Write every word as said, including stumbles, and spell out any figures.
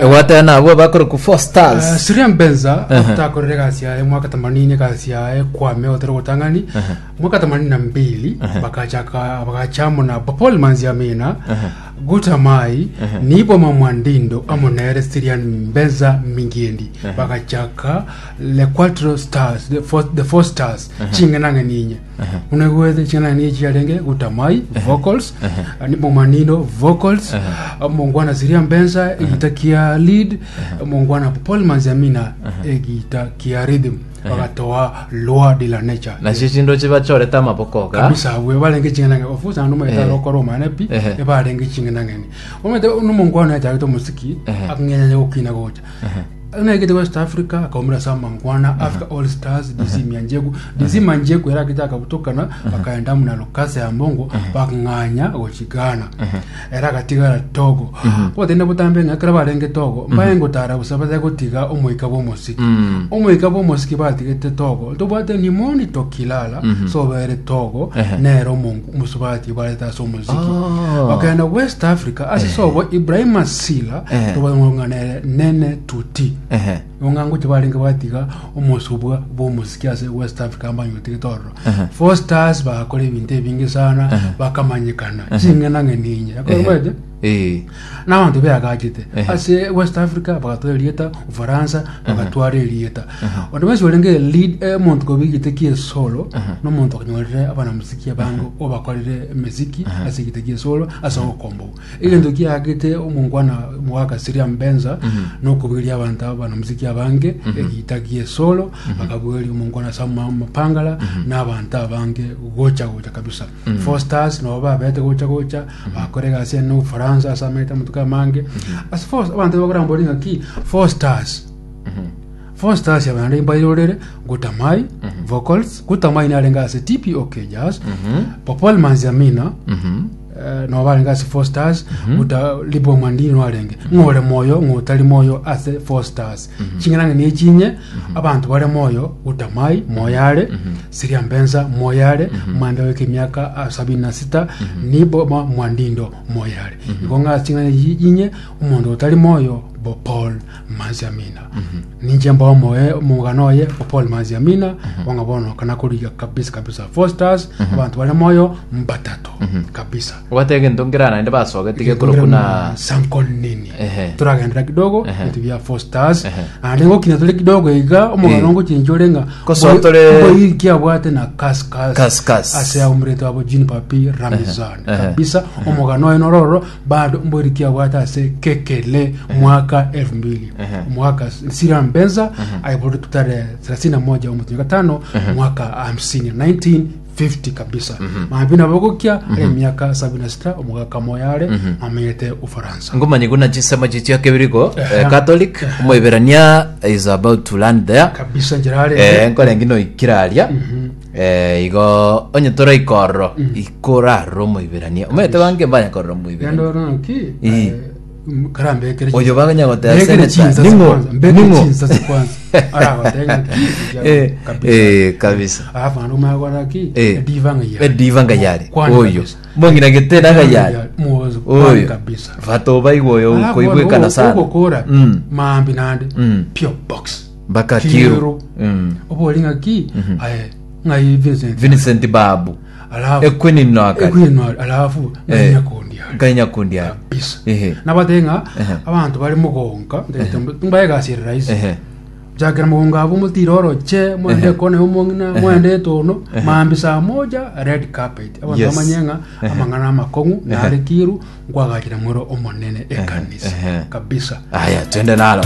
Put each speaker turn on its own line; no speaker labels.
Egwatera nabwo bakoroku Four Stars.
Uh, Siria Mbenza after egasi yaye mwaka themanini, egasi yaye kwame otero gotang'ani mwaka themanini na mbili, bakachaka bagachamo na Paul Manziamina, Gutamai, Niboma Mwandindo amo nere Sirian Mbenza Mingiendi, bagachaka Le Quattro Stars, the four, the four Stars, ching'enang'eni inye unegwete ching'enang'eni chiarenge Gutamai vocals, uh, Nibo Mwandindo vocals, uh, mongwana Siria Mbenza egita kia lead, mongwana Paul Manziamina egita kia rhythm, bagatoa Loi de la Nature.
Nacio chindo chibachorete amaboko ga.
Kabisa, we barenge ching'enang'eni ofusa ando
Eh.
maeta lokoro omane pi.
Ehe.
Ebarenge ching'enang'eni omete nomongwana yachagete omosiki
Ehe.
akng'enya gokina gocha naegete West Africa, akaumira sa mangwana Africa All Stars, D C Mianjeku, D C Manjeku era akita akabutokana, bakaenda muna Lokasa ya Mbongo, bakng'anya gochigana, era akatigara Togo botende butambe ng'akera barenge Togo mbaye ngotara busa baze gotiga omoika bwa omosiki.
Mm.
Omoika bwa omosiki batigete Togo tobwate nimoni tokilala sobere Togo.
Ehe.
Nero omongu omusubati bareta ase omoziki.
Oh.
Bakaenda West Africa ase sobo Ibrahima Sila.
Ehe.
Tobang'ana nere Nene Tuti.
Ehe.
Ong'ango chibarenge batiga omosubwa bwa omosiki ase West Africa mbanyutige tororo.
Ehe.
Four Stars bakora ebinto ebinge sana, bakamanyikana ching'enang'eni inye akoromete.
Eh.
N'abantu beagachete
Ehe.
ase West Africa bagatwara erieta, Ufaransa bagatwara erieta. Onde bwensi orenge lead, eh, omonto kobigite kie solo n'omonto akanyorire abanamuziki abange obakorire emiziki ase egite kie solo ase ogokombogo egento kiagete omongwana omogaka Siria Mbenza nokoberia abanto abanamuziki abange egita gie solo, bakabugeria omongwana Sama Mapangala n'abanto abange gocha gocha kabisa. Four Stars nabo babete gocha gocha bakora egasi ene Ufaransa ase amaete amatuko amange ase four. Abanto bakorambori ng'aki Four Stars, Four Stars yabande mbairorere Gutamai vocals, Gutamai narenge ase T P O K Jazz, Popol Manziamina eh, no barenge ase Four Stars, guta Libo Mwandini narenge ng'ore moyo ng'otari moyo ase Four Stars. Ching'anang'e ni chinye abantu bare moyo: Gutamai moyare, Siria Mbenza moyare mwambe weke miaka ah, sabini na sita, Nibo ma Mwandindo moyare. Igo ng'a ching'ana inye omonto otari moyo bo Paul Manziamina, ninche mba omoe omogano oye bo Paul Manziamina bonga bono kana kuriga kabisa kabisa. Four Stars abantu bare moyo mbatato kabisa.
Obwate egento nkera naende basogete gekoro kuna
Sankol nini.
Ehe.
Turagendera kidogo
Ehe.
bintu bya Four Stars.
Ehe.
Ande ngokina tuli kidogo iga omogano
Eh.
ngochincha orenga
Kosotore-
kiabwate na Kaskas.
Kaskas.
Ase aumurete abo Jean Papi Ramizan.
Ehe.
Kabisa, omogano oyo nororo bado mbori kiabwate ase kekele mwaka elfu mbili.
Ehe.
Mwaka Sira Mbenza aiboru tarehe thelathini na moja omwezi wa tano mwaka hamsini elfu moja mia tisa hamsini kabisa, mambina bogokia emiaka sabini na sita, omogaka moyare amenyete Ufaransa.
Ngomanye kuna chisema chichia kebiriko.
Ehe.
eh, Catholic omoiberania is about to land there.
Kabisa, njirare.
eh nkorengi no ikiraria eh igo onye tora ikorro ikorarro omoiberania omete bange mbanya korro omoiberania.
Yandoro ki.
Eh.
Karambekere.
Oyo baganya gotea
Mbekere
senator
chinsa
ningo
kwanza, mbekere
ningo
chinsa kwanza aragotenga ki.
eh
Kabisa.
eh kabisa.
Alafu ando magwara ki.
Eh.
Diva ngayari.
Ediva ngayari.
Kwani
Oyo
kabisa.
mbongina getena ngayari.
Muozo kwani
oyo
kabisa.
vato baigwa oyo
Alafu
koigwekana
ono-
sana.
ogokora
Mm.
mambi nande
Mm.
P O Box
mpaka
Kiru.
Kiru. Mm.
Oboli ng'aki aye ng'ai Vincent.
Vincent Babu.
Alafu
Ekwini no akari.
Ekwini alafu
Eh.
nyakundi ari.
Ngai ari.
Kabisa.
Ehe.
Nabatenga
Ehe.
abantu bari mugonka mbaegasire rahisi.
Ehe.
Jakera mugonga abo mutire oroche mwende
Ehe.
kone omong'ina mwende etono mambi saa moja red carpet abantu
Yes.
bamanye ng'a amang'ana amakong'u nare Kiru nkwagachira mwero omonene ekanisa.
Ehe.
Kabisa.
Aya, twende nalo.